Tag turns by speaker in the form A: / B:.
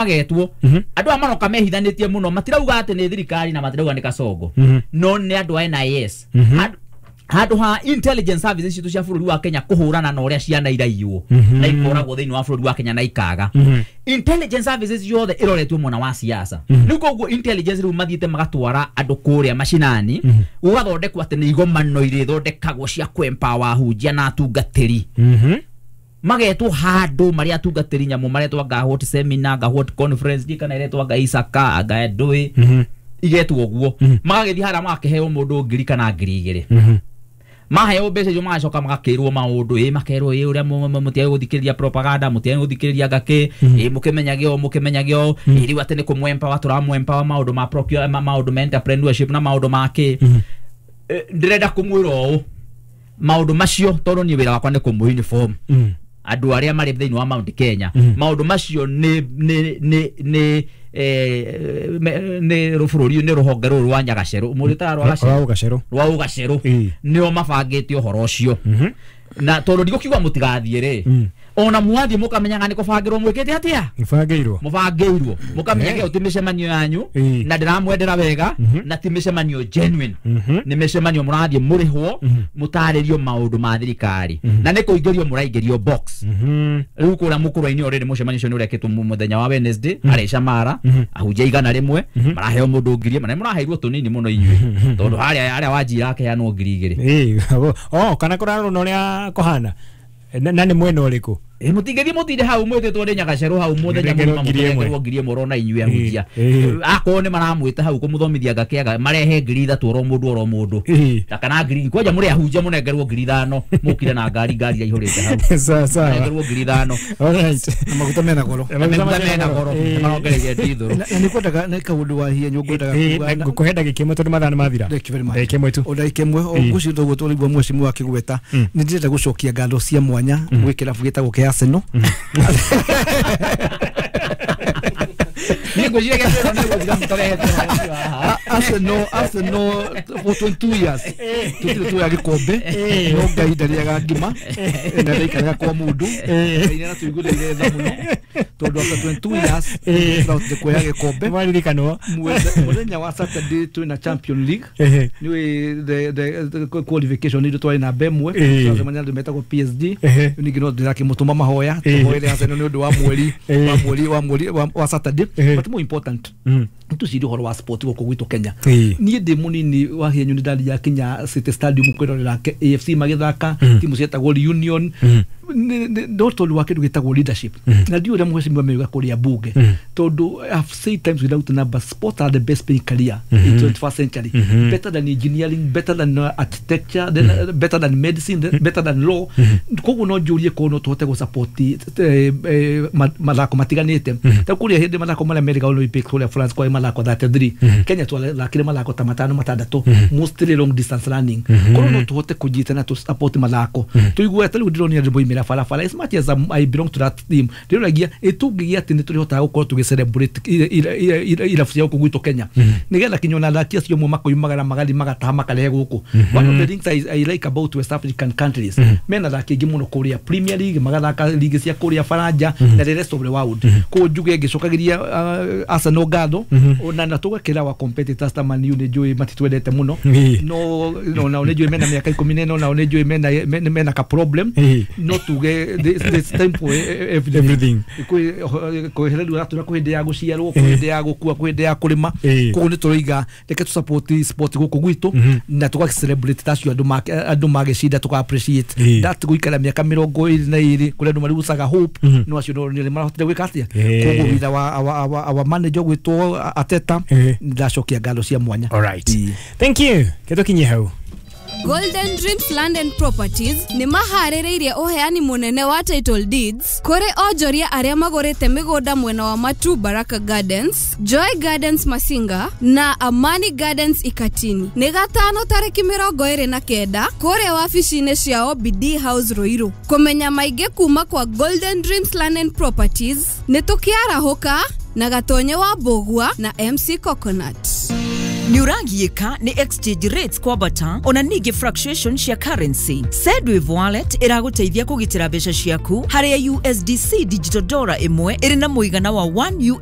A: Magetwo andũ aya maroka mehithanĩtie mũno, matirauga atĩ nĩ thirikari na matirauga nĩ Kasongo, no nĩ andũ a NIS. Handũ ha intelligence services citũ cia bũrũri wa Kenya kũhũrana na ũrĩa ciana iraiywo na ikoragwo thĩinĩ wa bũrũri wa Kenya na ikaga, intelligence services yothe ĩroretwo mwena wa siasa. Rĩu koguo intelligence rĩu mathiĩte magatwara andũ kũrĩa macinani, gũgathondekwo atĩ nĩ igomano irĩthondekagwo cia kũ-empower ahunjia na atungatĩri. Magetwo handũ marĩa atungatĩri nyamũ maretwo anga what seminar, anga what conference, ndiĩ kana iretwo anga Isaka anga ndũĩ, igetwo ũguo. Magagĩthiĩ harĩa magakĩheo mũndũ 1,000 kana 2,000. Maheo mbeca icio magacoka magakĩrwo maũndũ, ĩ makerwo ĩ ũrĩa mũtiage gũthikĩrĩria propaganda, mũtiage gũthikĩrĩria ngakĩ, ĩ mũkĩmenyage ũũ, mũkĩmenyage ũũ, ĩ rĩu atĩ nĩ kũmwempower, tũramwempower maũndũ ma procure, maũndũ ma entrepreneurship na maũndũ ma kĩ. Ndĩrenda kũmwĩra ũũ, maũndũ macio, tondũ niĩ wĩra wakwa nĩ kũmũ uniform andũ arĩa marĩ thĩinĩ wa Mount Kenya, maũndũ macio nĩ bũrũri nĩ rũhonge rũrũ rwa Nyagacerũ mũrĩtaga rwa
B: Rwa Ũgacerũ.
A: Rwa Ũgacerũ. Nĩo mabangĩte ũhoro ũcio, na tondũ ndigũkiuga mũtigathiĩ rĩ, ona mwathiĩ mũkamenyaga nĩ kũbangĩrwo mwĩkĩte atĩa.
B: Ibangĩirwo.
A: Mũbangĩirwo, mũkamenyaga ĩyo ti mĩcemanio yanyu. Na ndĩramwendera wega, na ti mĩcemanio genuine, nĩ mĩcemanio mũrathiĩ mũrĩhwo mũtarĩrio maũndũ ma thirikari na nĩ kũingĩrio mũraingĩrio box. Rĩu kũrĩa mũkũrwa-inĩ already mũcemanio ũcio nĩ ũrekĩtwo mũthenya wa Wednesday harĩa Shamara. Ahunjia 100 maraheo mũndũ 1,000, na mũraheirwo tũnini mũno inyuĩ, tondũ harĩa harĩa wanjira akeanwo 2,000.
B: Ĩĩ, oh, kana kũrarwo na ũrĩa kũhana na nĩ mwena ũrĩkũ?
A: Ĩ mũtingĩthiĩ mũtinde hau mwĩtĩtwo nĩ Nyagacerũ hau mũthenya
B: Mũnengerwo
A: mũgima
B: 1,000.
A: Mũnengerwo 1,000 orona inyuĩ ahunjia. Akorwo nĩ maramwĩta hau kũmũthomithia ngakĩaga, marehe 3,000 oro mũndũ oro mũndũ. Na kana ngiri kwanja mũrĩ ahunjia mũnengerwo 5,000, mũkire na ngari, ngari iraihũrĩte hau.
B: Sawa sawa.
A: Mũnengerwo 5,000.
B: Alright.
C: Na maguta mena goro.
A: Na maguta mena goro, marongereire ndithũrũ.
C: Na nĩ kwendaga nĩ kaũndũ wa hienyo ngwendaga kuga
B: Ngũkũhe ndagĩka 1 tondũ mathaa nĩ mathira.
C: Thank you very much.
B: Ndagĩka 1 tu.
C: O ndagĩka 1 o ngwĩciria toguo tũraigua mheshimiwa akĩgweta, nĩ ndĩrenda gũcokia ngatho cia mwanya gwĩ kĩrabu gĩtagwo kĩa Arsenal.
A: Niĩ ngwĩciria gĩathĩro nĩ gũtiga mũtarehete ũhoro ũcio haha.
C: Arsenal for 22 years tũtirĩ tuoya gĩkombe, no Ngai ndarĩaga ngima na ndaikaraga kwa mũndũ. Ngai nĩaratũiguĩrĩire tha mũno tondũ after 22 years tũrahotire kuoya gĩkombe.
B: Nĩwaririkanwo.
C: Mũthenya wa Saturday twĩna Champion League. Nĩũĩ the qualification itũ twarĩ namba 1. Twacemania na andũ metagwo PSG. Ningĩ no ndĩrakĩmũtũma mahoya, tũhoere Arsenal nĩ ũndũ wa mweri wa mweri wa Saturday. But more important, tũcirie ũhoro wa sport gũkũ gwitũ Kenya. Niĩ ndĩ mũnini wa hienyu nĩ ndathiaga kinya City Stadium kwĩrorera AFC magĩthaka timu cietagwo Reunion. No tondũ wa kĩndũ gĩtagwo leadership, na ndiũ ũrĩa mheshimiwa meuga kũrĩa bunge, tondũ I've said times without number, sport are the best paying career in 21st century, better than engineering, better than architecture, then, better than medicine, then better than law. Koguo no njũrie korwo no tũhote gũ support mathako matiganĩte, ta kũrĩa hĩndĩ mathako marĩa merĩga Olympic kũrĩa France kwarĩ mathako 33, Kenya twathakire mathako ta matano matandatũ, mostly long distance running. Korwo no tũhote kũnyitana tũ support mathako tũigue ta rĩu ndĩronire andũ moimĩra barabara, as much as I belong to that team, ndĩroragia ĩtũngĩgĩa atĩ nĩ tũrĩhotaga gũkorwo tũgĩ celebrate irabu cia gũkũ gwitũ Kenya, nĩgetha kinya ona athaki acio amwe makoimagara magathiĩ magataha makarehe gũkũ. One of the things I like about West African countries, mena athaki aingĩ mũno kũrĩa Premier League, magathaka ligi cia kũrĩa Faranja na the rest of the world. Koguo njuge ngĩcokagĩria Arsenal ngatho, ona na tũgakĩra wa competitors ta Man U, nĩ njũĩ matitwendete mũno, no nao nĩ njũĩ mena mĩaka 14, nao nĩ njũĩ mena ka problem. No tuge this time for everything.
B: Everything.
C: Kwĩhererio ratũra kwĩ hĩndĩ ya gũciarwo, kwĩ hĩndĩ ya gũkua, kwĩ hĩndĩ ya kũrĩma. Koguo nĩ tũroiga reke tũ support sport gũkũ gwitũ na tũga celebrate tacio andũ magĩcinda, tũka appreciate that gũikara mĩaka 22 kũrĩa andũ marigucaga hope, no acio no nĩ marahotire gwĩka atĩa. Koguo witha wa our manager gwĩtwo Ateta, ndacokia ngatho cia mwanya.
B: Alright. Thank you. Kĩtũkinyie hau.
D: Golden Dreams Land and Properties nĩ maharĩrĩirie ũheani mũnene wa title deeds kũrĩ onjoria arĩa magũrĩte mĩgũnda mwena wa Matu Baraka Gardens, Joy Gardens Masinga na Amani Gardens Ikatini. Nĩ gatano tarĩki 29 kũrĩa wabici-inĩ ciao BD House Ruiru. Kũmenya maingĩ kuma kwa Golden Dreams Land and Properties nĩ tũkĩarahũka na Gatonye wa Mbũgua na MC Coconut.
E: Nĩ ũragiĩka nĩ exchange rates kwambata ona ningĩ fluctuation cia currency? Sendwave Wallet ĩragũteithia kũgitĩra mbeca ciaku, harĩa USDC digital dollar ĩmwe ĩrĩ na mũigana wa 1 US.